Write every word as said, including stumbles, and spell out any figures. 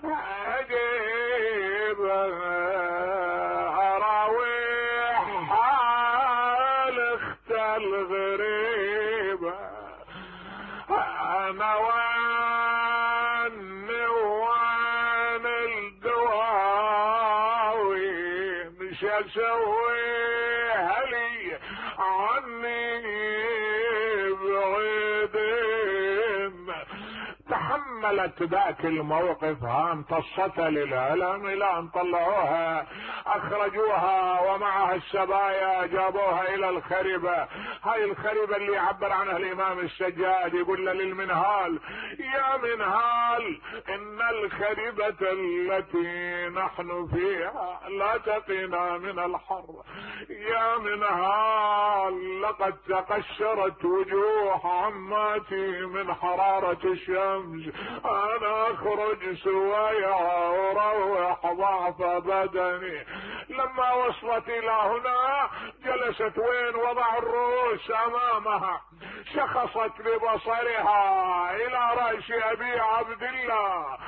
عجيب اراويح حال اخت الغريبة، انا واني وان الدواوي مش اسويها لي عني بعيدين. تحملت ذاك الموقف ها امتصتها للعلم الى ان طلعوها اخرجوها ومعها السبايا جابوها الى الخربة. هاي الخربة اللي يعبر عنها الامام السجاد، يقول للمنهال يا منهال ان الخربة التي نحن فيها لا تقينا من الحر، يا منهال لقد تقشرت وجوه عماتي من حرارة الشمس، انا اخرج سوايا واروح ضعف بدني. لما وصلت الى هنا جلست وين وضع الرؤوس امامها، شخصت ببصرها الى رأس ابي عبد الله